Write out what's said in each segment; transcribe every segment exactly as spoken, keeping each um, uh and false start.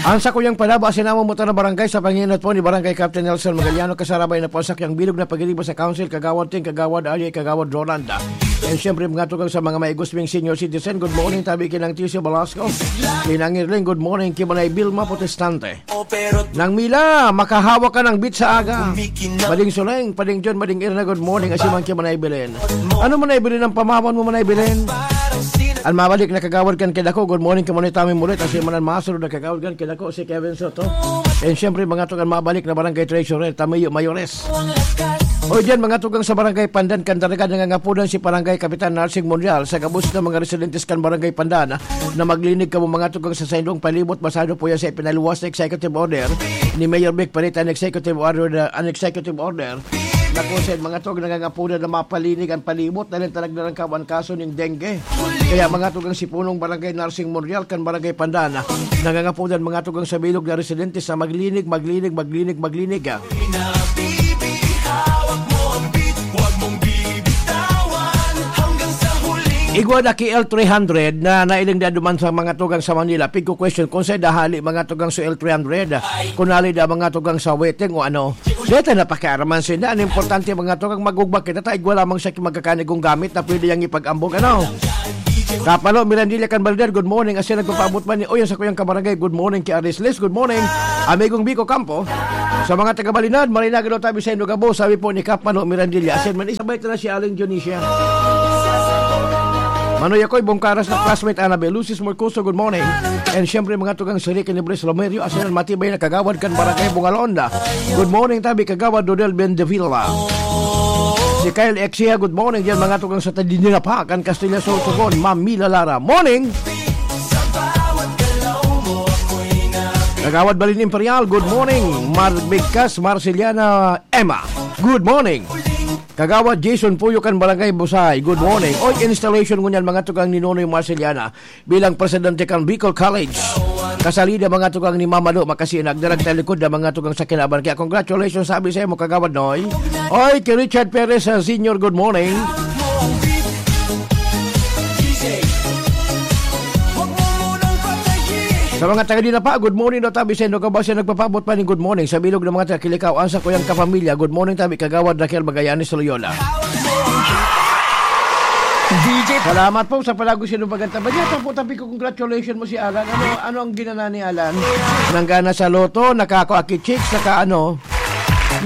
Ang sakuyang palaba, sinamong motor na barangay sa panginot po ni Barangay Captain Nelson Magaliano, kasarabay na po sa kiyang bilog na pagiriba sa Council, Kagawad Ting, Kagawad Arya, Kagawad Rolanda. And syempre, mga tugang sa mga maigos ming senior citizen, good morning, tabi kinang T C Velasco. Kinang Irling, good morning, Kibanay Vilma Protestante. Nang Mila, makahawak ka ng beat sa aga. Mading Suleng, Pading John, Mading Irna, good morning, Asiman Kibanay Belen. Ano man ay bilin ang pamawan mo man ay bilin? Ang mabalik na kagawad kan kidako, good morning, Kibanay Tami Mulit, Asiman ang masunod na kagawad kan kidako, si Kevin Soto. And syempre, mga tugang mabalik na barangay treasurer, Tamayo Mayores. O diyan, mga tugang sa barangay Pandan, Candaragan, nangangapunan si barangay Kapitan Narsing Monreal sa gabos ng mga residentes kan barangay Pandan na maglinig kamo, mga tugang, sa saindong palibot. Basado po yan sa ipinaluwas na executive order ni Mayor Vic Perita, an executive order, an executive order na kung saan, mga tugang, nangangapunan na mapalinig ang palibot dahil talag na lang kawan kaso ning dengue. Kaya, mga tugang, si punong barangay Narsing Monreal kan barangay Pandan, nangangapunan, mga tugang, sa bilog na residente sa maglinig, maglinig, maglinig, maglinig. Igwa na ki L three hundred na nailing na duman sa mga tugang sa Manila. Pigko question kung sa dahali, mga tugang, sa L three hundred, kung nali da, mga tugang, sa waiting o ano. Deta na pakiaraman sinda. Ang importante, mga tugang, magugba kita, ta igwa lamang sa magkakanigong gamit na pwede yang ipag-ambog, ano? Kapalo, Mirandilla, Canbalder, good morning. Asin nagpapaabot man ni, oy, ang sakuyang kabarangay, good morning, ki Arisles, good morning. Amigong Biko Campo, sa mga taga Balinad, marinaga daw tabi sa Inugabo, sabi po ni Kapalo, Mirandilla. Asin man, isabay ta na si Aling Dionisia. Manoy ako'y Bongkaras na classmate, Annabel Lucis Morcoso, good morning. And syempre, mga tugang, si Ricky Nibres Lomerio, asin ang matibay na kagawad kan Barangay Bungalonda. Good morning, tabi, Kagawad Dodel Bendevilla. Si Kyle Exia, good morning diyan, mga tugang, sa Tadinina pa, kan Castilla, Sorsogon, Ma'am Mila Lara. Morning! Kagawad Balin Imperial, good morning. Mar Bigkas, Marceliana Emma, good morning. Kagawad Jason Puyo kan Barangay Busay, good morning. Oy, installation ngunyan, mga tugang, ni Nonoy Marceliana bilang presidente kan Bicol College. Kasalida, mga tugang, ni Mama Lo Makasinag, darag talikod na, mga tugang, sa kinaban. Kaya congratulations, sabi sa imo, Kagawad Noy. Oy, kay Richard Perez, ah, Senior, good morning. Sa mga taga Dinapa, good morning daw, tabi sa inyo. Kabasi nagpapabot pa ning good morning sa bilog ng mga taga Kilikao. Ang sa kuyang kapamilya, good morning, tabi, Kagawad Raquel Magallanes Loyola. D J. Salamat po sa palagos sinong pagkanta. Ba niya po, tabi ko, congratulations mo si Alan. Ano, ano ang ginana ni Alan? Nanggana sa loto, nakako aki chicks, naka ano.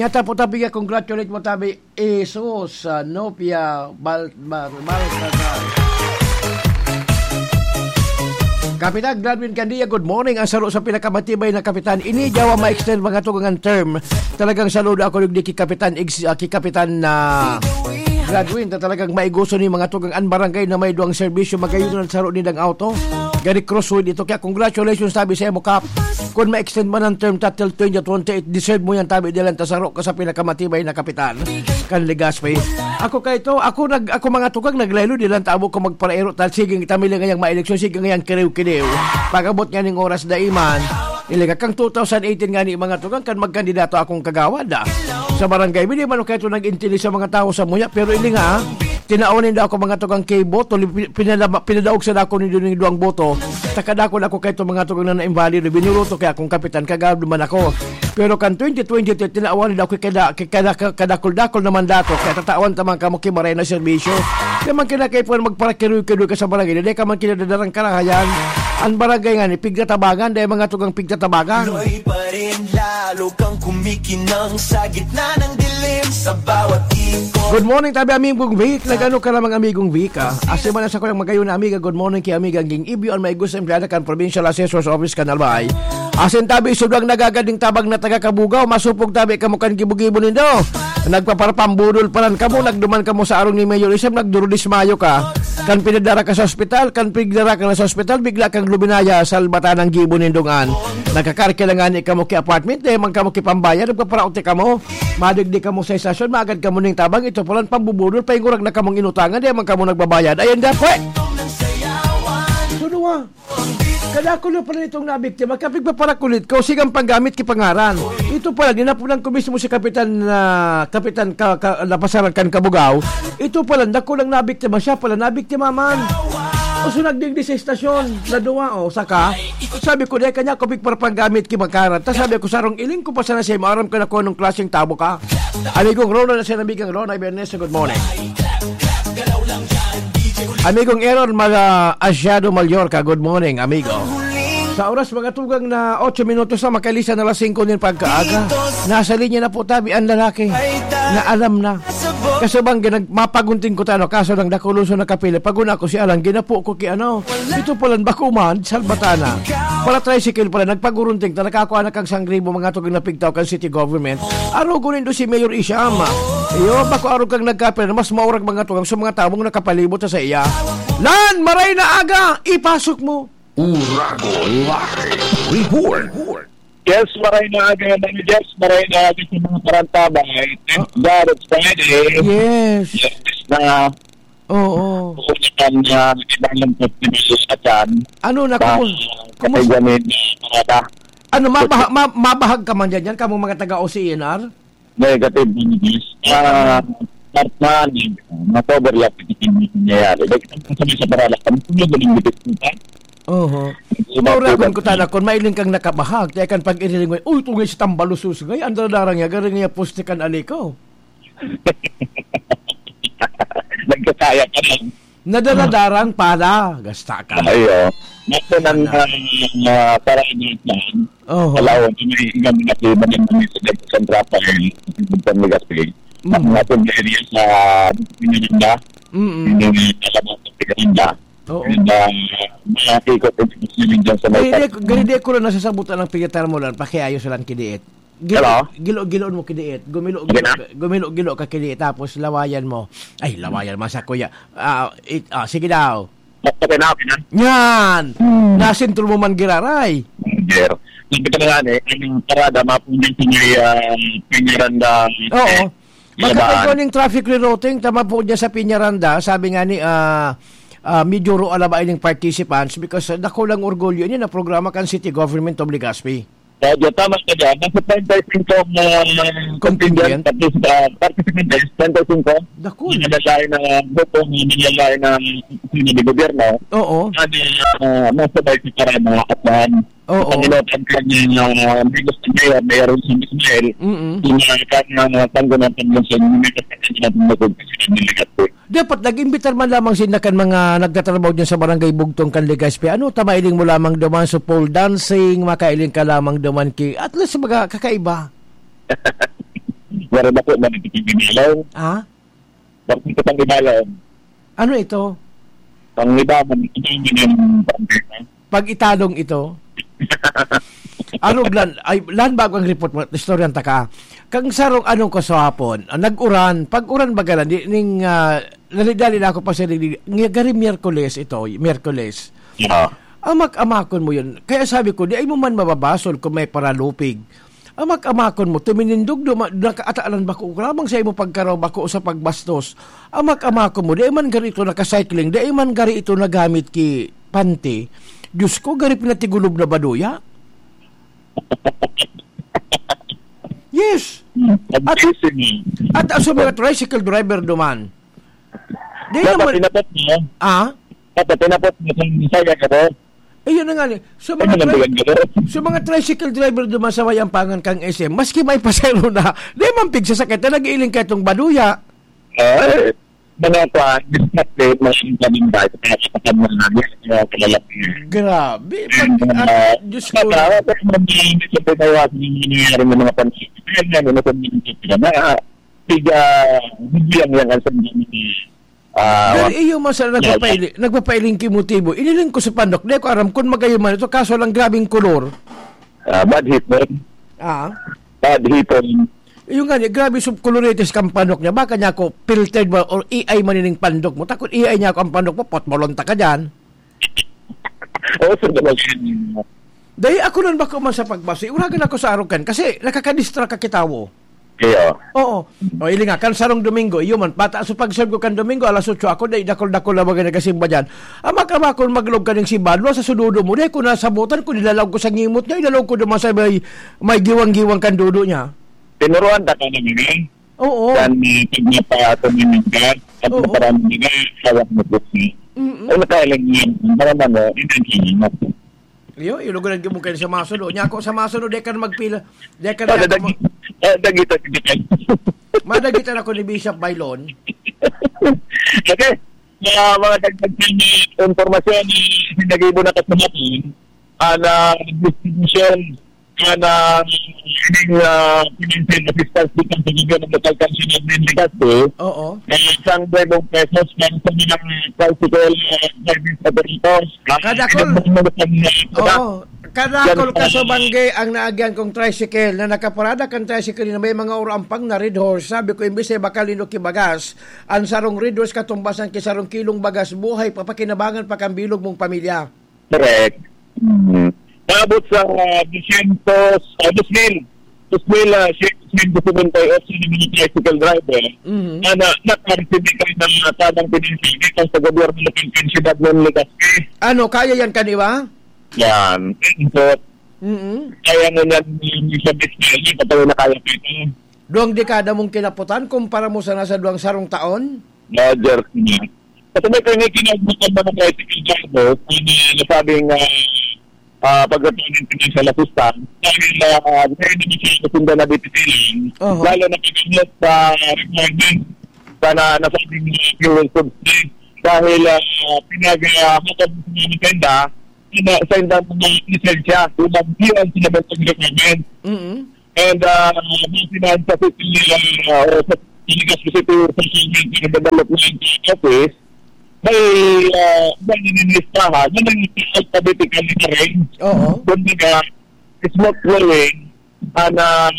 Niya po, tabi ka, congratulate mo, tabi. Jesus, ah, Nopia, Bal-, Bal-, Balcazar. Kapitan Gladwin Candia, good morning. Ang saro sa pinakamatibay na kapitan. Ini, yawa ma-extend, mga tugang, ang term. Talagang saludo ako, digdi ki Kapitan Ex-, ah, ki Kapitan na Gladwin, ta talagang maiguso ni, mga tugang, an barangay na may duwang serbisyo, magayon na saro nindang auto. Gani crossroad ito. Kaya congratulations, tabi sa imo, Kap. Kung ma-extend man ang term ta till twenty twenty-eight, deserve mo yan, tabi, dilan ta saro ka sa pinakamatibay na kapitan kan Legazpi. Ako kay ito, ako nag, ako, mga tugang, naglaylo, dilan ta abo ko magparaero, tal sige, kita mi ngayang maeleksyon, sige ngayang kiriw-kiriw. Pag-abot nga ning oras, daiman, ilinga kang two thousand eighteen nga ni, mga tugang, kan magkandidato akong kagawad, ah. Sa barangay, hindi man kayo nag-intindi sa mga tao sa muya, pero ilinga, ah, tinaon ninda ako, mga tugang, kay boto, li-, pi-, pinalama-, pinadaog sa dako ni Duning Duang boto. Takadakol ako kay itong mga tugang na na-invalid, binuroto kaya akong kapitan, kagawad man ako. Pero kan twenty twenty-three, tinawan ninda ako kay kada-, kay kada-, kadakol-dakol na mandato, kaya tatawan ta man kamo ki maray na serbisyo. Kaya man kinakaipuhan magparakiroy-kiroy ka sa barangay, dahil ka man kinadadarang karahayan. Ang barangay nga ni, pigtatabangan, dahil mga tugang pigtatabangan. Loy pa rin, lalo kang kumikinang sa gitna ng dilim sa bawat ikot. Good morning, tabi, amigong Vic. Nagano ka namang amigong Vic, ah? Asi man sa kuyang magayon na amiga, good morning kay amiga Ging Ibyo, ang may gusto empleyada kan Provincial Assessor's Office kan Albay. Asin tabi, sudwang nagagading tabang na taga Kabugaw, masupog tabi kamo kan gibo-gibo nindo. Nagpaparapambudol pa lang kamo, nagduman kamo sa arong ni Mayor Isam, nagdurodismayo ka. Kan pinadara ka sa ospital, kan pigdara ka na sa ospital, bigla kang luminaya sa albatan ng gibo nindong an. Nagkakarke na nga ni kamo ki apartment, dahil man kamo ki pambayad, nagpaparaot kamo. Madigdi kamo sa estasyon, maagad kamo ning tabang, ito palan pambubudol, paingurag na kamong inutangan, dahil man kamo nagbabayad. Ayan, dapwe! Suno, ah. Kadakol na pala nitong nabiktima, kapigpaparakulit ko, sigang panggamit ki pangaran. Ito pala, dinapunan ko mismo si Kapitan, ah, Kapitan ka, ka, Lapasaran kan Kabugaw. Ito pala, dakulang nabiktima, siya pala, nabiktima man. So, nagdigdi sa estasyon, na duwa, o, saka, sabi ko, "Dai kanya ako pigparapagamit ki Bakarat." Ta sabi ko, "Sarong iling ko pa sana siya, maaram ka na kung anong klaseng tabo ka." Amigong Ronald, sa amigang Rona Bernes, good morning. Amigong Aaron Mag-, ah, Asiado Mallorca, good morning, amigo. Sa oras, mga tugang na otso minutos na, makailisan na alas singko nin pagkaaga. Nasa linya na po tabi ang lalaki na alam na. Kaso bang ginag-, mapagunting ko tano, kaso lang dakuloso nakapili. Pag una ko si Alan, ginapo ko ki ano, ito palan bako man, salbatana. Para tricycle pala, nagpagurunting ta, nakakuha na kang sangribo, mga tugang na pigtaw kan city government. Arogo nindo si Mayor Isham. Iyo, bako arog kang nagkapira, mas maurag mga tugang sa mga tamong nakapalibot sa iya. Lan, maray na aga, ipasok mo. Uragon Live Report. Yes, maray na aga, Mami Jess. Maray na aga sa mga parantabay. Thank Ah. God it's Friday. Yes. Yes, na Oo. Kung saan na ibang festival sa Atan, Ano na, sa kumus-, kumus-, Katiganin, Parada. Ano, mabaha-, ma-, mabahag ka man dyan, dyan, kamong mga taga O C E N R? Negative, Mami Jess. Ah, part na, nag-overlap yung nangyayari. Like, ang sabi sa Parada, kami po yung galing dito, Oho. Mauragon ko tana, kun mailing kang nakabahag, kaya kan pag-iriling mo, "Uy, ito nga si Tambalusus, ngay, ang daradarang niya, garing niya poste kan aliko." Nagkakaya ka lang. Nadaradarang pala, gasta ka. Ay, oh. Naku, nang, Ano? ah, ah, para initan, Oho. Palawan, yung may igang mga iba din kami sa San Rafael, sa San Legazpi. Mm. Ang ating area sa Pinaganda, Mm-mm. yung mga kalabang sa Pinaganda. Oo. And, ah, mga ikot and ikot swimming dyan sa may Gani di, park. Gani di ko lang nasasabutan ang piyatar mo lang, pakiayos lang kidiit. Gilo-, Hello? gilo-, giloon mo kidiit. Gumilo-, Okay gilo-, na? gumilo-, gilo ka kidiit, tapos lawayan mo. Ay, lawayan, masa kuya. Ah, it-, ah, sige daw. Okay na, okay na. Yan! Hmm. Nasintro mo man giraray. Sir, sabi ko na nga, eh, ang parada, mapunta sa may, ah, Peñaranda, Oo. eh, Magkakaigwa Labaan. Ning traffic rerouting, tama po dyan sa Peñaranda, sabi nga ni, ah, ah, Mijuro Alaba ining participants because, ah, dakulang orgulyo ini na programa kan City Government of Legazpi. Kaya dyan, tama ka dyan. Nasa treinta y cinco ang, ah, Contingent? contingent, partic-, ah, participant is treinta y cinco. Dakul. Yung nalalain na grupo, yung nalalain na opisina de gobyerno. Oo. Ano, ah, nasa bay si Karama at, ah, Oo. Panginoon, ang kanyang, ah, amigos na mayor, Mayor Wilson Ismael, Mm-mm. yung, ah, kanyang, ah, tanggungan, tanggungan sa inyo, may kasama natin na kung kasi ng Legazpi. Dapat nag-imbitar man lamang sinda kan mga nagtatrabaho diyan sa Barangay Bugtong kan Legazpi. Ano, ta mailing mo lamang duman sa pole dancing, makailing ka lamang duman ki-, at least, mga kakaiba. Wala na po, man, ito yung ginalaw. Ah? Bakit ito pang ginalaw? Ano ito? Pang iba, man, ito yung ginalaw, pang iba. Pag italong ito? Arog lan, ay, lan bago ang report mo, istoryan ta ka. Kang sarong anong ko sa hapon, ah, nag-uran. Pag-uran baga na, di, ning, ah, dali-dali na ako pa sa dili, nga gari Miyerkules ito, Miyerkules. Yeah. Amak-amakon mo yun. Kaya sabi ko, di ay mo man mababasol kung may paralupig. Amak-amakon mo, tuminindog duma-, nakaatalan bako, grabang sa imo pagkaraw bako sa pagbastos. Amak-amakon mo, di ay man gari ito nakacycling, di ay man gari ito nagamit ki panty. Diyos ko, gari pinatigulob na baduya. Yes. At, Amazing. At ang mga tricycle driver duman. Di Dapat naman pinapot mo. Ah? Dapat pinapot mo kung saya ka ba? Ayun na nga ni. So, Ay, mga tri-, nanabulan ka ba? So, mga tricycle driver duman sa may ampangan kang S M, maski may pasahero na, di man pigsasakit na nag-iiling ka itong baduya. Ay, mga kwan, distracted, mga inkaminday, kaya katakan mo na, kaya kalalaki. Grabe, And, pag, ah, ah, Diyos ko. Baka, baka, hindi sa pinayawasan yung nangyayari ng mga panahon. Kaya nga, ano, kung hindi sila na, ah, tiga, bigyan niya nga sa mga, ah, Pero wa-, iyo man sana yeah, nagpapaili-, nagpapailing ki motibo. Iniling ko sa pandok, di ko aram kung magayon man ito, kaso lang grabing kolor. Ah, bad hipon. Ah? Bad hipon. Yung nga, grabe sub coloritis kang pandok niya. Baka niya ako filtered ba or A I man ining pandok mo? Takot A I niya ako ang pandok mo, potbolon ta ka dyan. Oo, sir, talaga yun. Dahil ako nun bako man sa pagbasa, uragan ako sa arogan kasi nakakadistract ka kitawo. Kaya, Oo. O, ili nga, kan sarong Domingo, iyo man, pata sa pag-serve ko kan Domingo, alas otso ako, dahil dakol-dakol na mga nagasimba dyan. Ama ka ba, kung maglog ka ng simbahan, sa sududo mo, dahil ko nasabutan, kung nilalaw ko sa ngimot niya, ilalaw ko naman sa may, may giwang-giwang kan dudo niya. Tinuruan ta ka na, Miguel? Oo. Yan, eh, pag napaato ni Miguel, pag Oo. naparang Miguel, hawak mo po siya. Mm-mm. Ay, nakailang yan. Mga mano, hindi ang hinap. Iyo, ilugan ang gimong kayo sa masuno. Nya ako sa masuno, di ka na magpila. Di ka na Ah, dadag-, ah, dagita, dagita. Madagita na ko ni Bishop Bailon. Okay. Mga, mga dagdag na impormasyon ni Sinagibo na kasamatin, ah, na distribution, ah, na ining, ah, financial assistance dito sa Gobyerno Local Council of Legazpi. Oo. Na isang libong pesos para sa mga tricycle, ah, driving operators. Ah, Kadakol. Ano, ano, ano, ano, Oo. Kadakol yan, ka sa ah, bangge ang naagyan kong tricycle na nakaparada kan tricycle na may mga urampang na Red Horse. Sabi ko, imbis ay bakal nino kibagas, ang sarong Red Horse katumbasan ki sarong kilong bagas buhay, papakinabangan pa kan bilog mong pamilya. Correct. Mm. Naabot sa, ah, dosyentos, ah, dos mil. Dos mil, ah, siyento setenta y ocho na mga tricycle driver Mhm. na, na, nakareceive kami ng, ah, tamang financial dito sa gobyerno ng Siyudad ng Legazpi. Ano, kaya yan, kaniwa? Yan. Input. Mm-mm. Kaya mo yan, yung sa business, yung patuloy na kaya pa ito. Duwang dekada mong kinaputan kumpara mo sana sa duwang sarong taon? Roger, sige. Kasi may kanya kinagbutan na ng tricycle driver, kung nasabing, ah, ah, pagdating ng financial assistance, dahil, ah, ngayon naman siya nasundan na dito silang, Oho. lalo na pag-abot sa requirement, sana nasabing, ah, fuel subsidy, dahil, ah, pinag-, ah, makabot sa mga tenda, sa, sa tenda ng mga lisensya, unang fuel sa mga requirement. Mm-mm. And, ah, may finance sa city, ah, o sa Legazpi City Social Welfare and Development Office, may, ah, may nililistahan na nag-alphabetically arranged. Oo. Kumbaga, smooth flowing, ah, na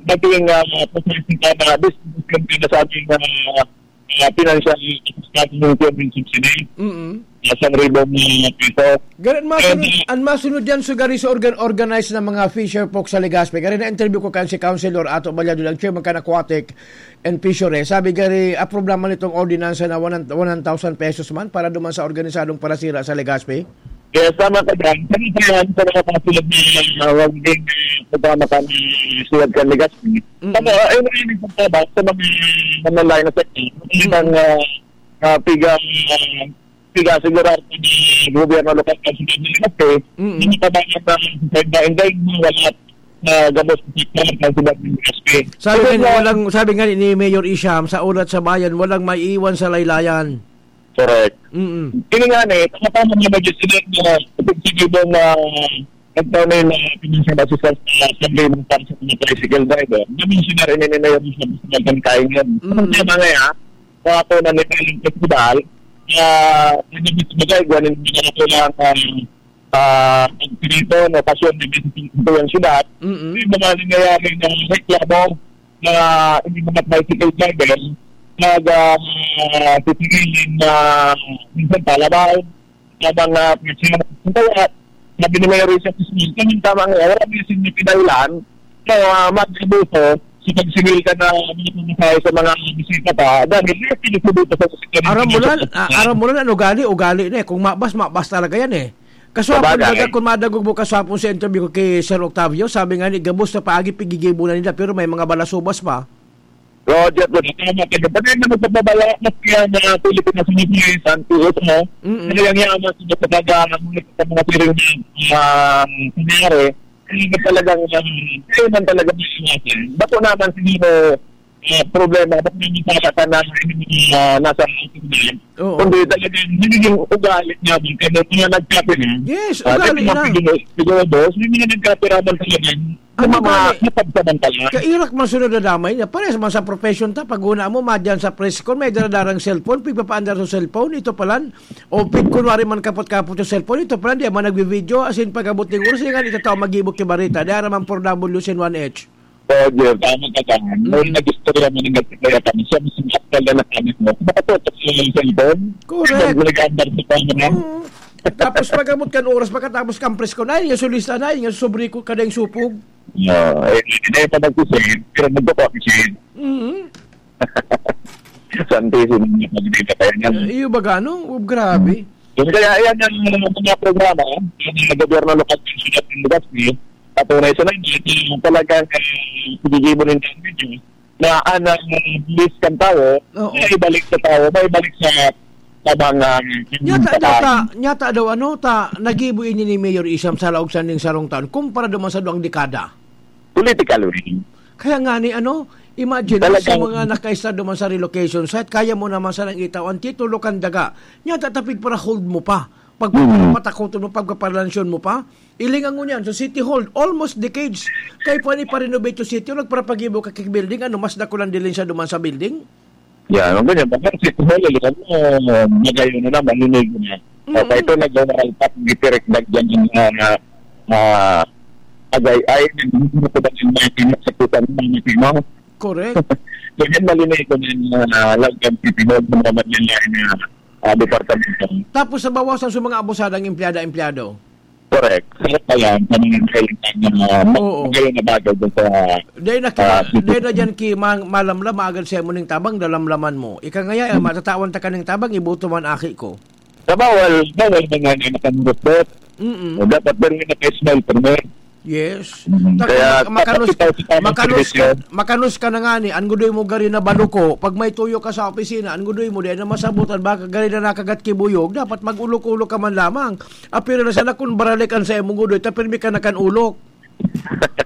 naging, ah, processing ka na distribution ka na sa ating, ah, ah, financial assistance ng government subsidy. Mm-mm. Isang ribong, ah, piso. Ganun, masunod, And, ah, ang masunod yan, so, gari sa organ-, organize ng mga fisher folk sa Legazpi. Gari na interview ko kan si Councilor Ato Balyado, ang chairman kan Aquatic and Fishery. Sabi, gari, approve naman itong ordinansa na one, one thousand pesos man para duman sa organisadong parasira sa Legazpi. Yes, tama ka dyan. Kami po yan sa mga kasulog na, ah, wag din, ah, kasama kami suwag kan Legazpi. Mm-mm. Ano, ah, ayun, ayun, yung pagtabas sa mga, mga line of sector. Mm-mm. Isang, ah, ah, piga, ah, piga sigurado ni gobyerno lokal kan siyudad ng Legazpi, Mm. hindi pa ba yung, ah, sa inday-inday mo, wala na gabos sa sektor kan siyudad ng Legazpi. Sabi Kasi nga ni, nga, walang, sabi nga ni Mayor Isham, sa Ulat sa Bayan, walang maiiwan sa laylayan. Correct. Mm. Kini nga ni, tama-tama nga mag-, sila na, sige ba na, nagtaon na yung mga financial assistance na sabi ng para sa mga tricycle driver. Na-mention na rin ni Mayor Isham sa mga kain yan. Mm. Ang tema nga, ah, sa ako na ni Kaling Festival, ah, hindi mismo tayo, gawa ng hindi na kailangan, ah, ah, pagpirito, no, pasyon, hindi sa ito yung siyudad. Mm-mm. Yung mga nangyayari ng reklamo na hindi mga tricycle driver, nag, ah, titigilin na minsan palabaw, habang, ah, kaya, sabi ni Mayor Richard Ismail, kaming tama nga, wala may significant dahilan na, ah, mag-abuso sa pagsingil ka na mga pamasahe sa mga bisita pa, dahil yung pinagsabi pa sa security Aram mo na, na ah, aram mo na, ano, ugali, ugali na eh. Kung mabas, mabas talaga yan eh. Kaswapon Sabagay. Talaga, kung madagog mo kaswapon sa interview ko kay Sir Octavio, sabi nga ni, gabos na paagi, pigigibo na nila, pero may mga balasubas pa. Roger, Roger. Tama ka dyan. Pati na magpapabala, mas kaya na Pilipinas, hindi kaya sa P S, no? Mm-mm. Kaya nga, mas sa mga, sa mga piring na, ah, nangyari, hindi na talagang, um, kaya man talaga may iwasan. Bako naman siguro, ah, problema, ba't may misasa ka na, ah, nasa Oo. Kundi talagang nagiging ugali niya din. Kaya may mga nagkapira. Yes, Ah, ugali may mga na. Siguro, siguro, boss, may mga nagkapira man talaga. Ano Yung mga ugali? Napagsamantala. Kairak man sunod na damay niya. Parehas man sa profession ta, pag una mo, madyan sa press con, may daradarang cellphone, pigpapaandar sa cellphone, ito palan. O pig kunwari man kapot-kapot yung cellphone, ito palan, di man nagbi-video, as in, pag-abot ng oras, yung nga, ito tao mag-ibot kay Barita. Di ara man four W sin one H. Roger, tama ka dyan. May Mm. nag-istorya mo ng kaya kami. Siya mismo, aktual na nakamit mo. Nakatutok siya yung cellphone. Correct. Siya, nag-andar sa camera. Oo. Tapos pag-abot kan oras, pagkatapos kan press con, ay, yung solista na, yung sobre ko, kadang supog. No, eh, hindi pa nag-save, pero nagpa-copy save. Mm. Santisimo niya, pag hindi na kaya niyan. Eh, iyo baga, no? Oh, grabe. Yun, kaya ayan ang mga programa, yung mga gobyerno lokal ng siyudad ng Legazpi, patunay sa Naga, yung talagang, eh, paggigibo ng video, na ang bilis kan tawo, Oo. Maibalik sa tawo, maibalik sa, Tabang, ah, Nyata daw ta, nyata daw ano ta, nagibo ini ni Mayor Isham sa laog sa ning sarong taon, kumpara duman sa duwang dekada. Political wing. Kaya nga ni ano, imagine mo Talagang sa mga nakaista duman sa relocation site, kaya mo naman sanang itaw ang titulo kan daga. Nyata tapig para hold mo pa. Pag Mm. papatakoton mo, pagpaparlansyon mo pa, ilingan mo niyan sa City Hall, almost decades. Kaya po ni pa-renovate yung City Hall, nagparapagibo ka kay building, ano, mas dakulang dilin siya duman sa building? Yan, ang ganyan. Bakit si Kuya Lili, ano, magayon na, malinig na. Mm. O, kaya ito, nag-overall pack, gitirek na dyan yung mga, ah, agay, ay, nagbubuto ba yung mga timak sa puta ng mga timo? Correct. So, yan, malinig ko na yung, ah, Lagkan City Hall, mga manlalain na, ah, departamento. Tapos, sa bawasan sa mga abusadang empleyada-empleyado? Correct. Sarap pa yan. Sa mga mahilig na, ah, Oo. magayon na bagay dun sa, Dahil na, ah, dahil na dyan ki mang-, malamlam, agad siya mo ning tabang, dalamlaman mo. Ika ngaya, eh, Hmm. matatawan ta ka ning tabang, iboto man aki ko. Sa bawal, bawal na nga na nakanurot-rot. Mm-mm. O dapat meron na ka-smile, permit. Yes. Mm. Taka Kaya mak-, makanus-, dapat ikaw sa tamang makanus-, servisyo. Makanus ka na nga ni, an gudoy mo gari na baluko, pag may tuyo ka sa opisina, an gudoy mo, di na masabutan, baka gari na nakagat kibuyog, dapat mag-ulok-ulok ka man lamang. Apira na sana kun baralikan sa imong gudoy, ta pirmi ka na kan ulok.